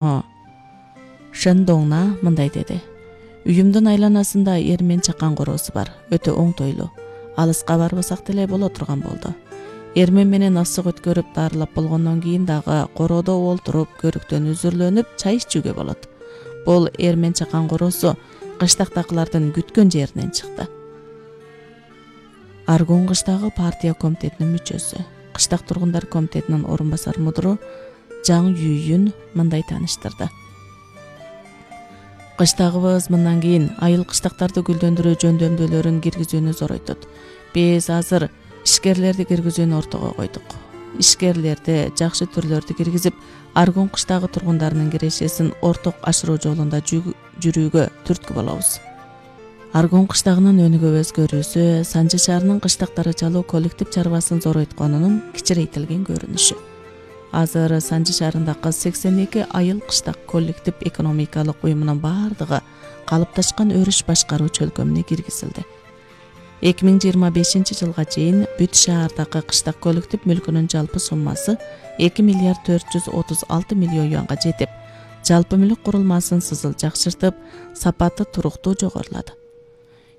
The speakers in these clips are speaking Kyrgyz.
Шендоңна мындай деди. Үйүмдүн айланасында эр мен чакан короосу бар. Өтө оңтойлуу. Алыска барбасак деле боло турган болду. Эрмен менен асык өткөрүп дарылап болгондон кийин дагы короодо олтуруп, көрүктөн үзүрлөнүп, чай ичүүгө болот. Бул эрмен чакан короосу кыштактагылардын күткөн жеринен чыкты. Аргун кыштагы партия комитетинин мүчөсү, кыштак тургундар комитетинин орун басар мудуру Жаң Юйюн мындай тааныштырды. Кыштагыбыз мындан кийин айыл кыштактарды гүлдөндүрүү жөндөмдүүлөрүн киргизүүнү зоройтот. Биз азыр ишкерлерди киргизүүнү ортого койдук. Ишкерлерди, жакшы түрлөрдү киргизип, Аргун кыштагы тургундарынын кирешесин орток ашыруу жолунда жүрүүгө түрткү болобуз. Аргун кыштагынын өнүгүү өзгөрүүсү Санжы шаарынын кыштактары чалуу коллектив чарбасын зоройтконунун кичирейтилген көрүнүшү. Азыр Санжы шаарындагы 82 айыл кыштак коллектив экономикалык уюмунун бардыгы калыпташкан өрүш башкаруу чөлкөмүнө киргизилди. 2025 жылга чейин бүт шаардагы кыштак коллектив мүлкүнүн жалпы суммасы 2 миллиард 436 миллион юанга жетип, жалпы мүлк курулмасын сызыл жакшыртып, сапаты туруктуу жогорулады.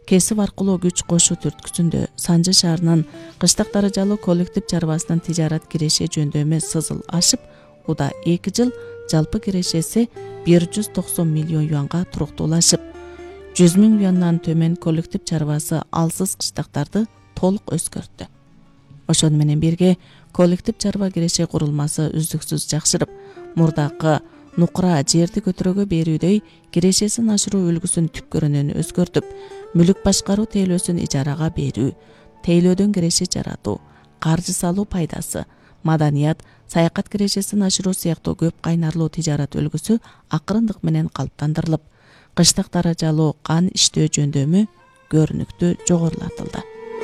Кесип аркылуу күч кошуу түрткүсүндө Санжы шаарынын кыштактары жалуу коллектив чарбасынын тижарат киреше жөндөмү сызыл ашып, уда 2 жыл жалпы кирешеси 190 миллион юанга туруктуулашып, 100 миң юандан төмөн коллектив чарбасы алсыз кыштактарды толук өзгөрттү. Ошону менен бирге коллектив чарба киреше курулмасы үздүксүз жакшырып, мурдакы нукура жерди көтөрөгө берүүдөй кирешесин ашыруу үлгүсүн түпкөрүнөн өзгөртүп, мүлк башкаруу тейлөөсүн ижарага берүү, тейлөөдөн киреше жаратуу, каржы салуу пайдасы, маданият, саякат кирешесин ашыруу сыяктуу көп кайнарлуу тижарат үлгүсү акырындык менен калыптандырылып, кыштактары жалоо кан иштөө жөндөмү көрүнүктүү жогорулатылды.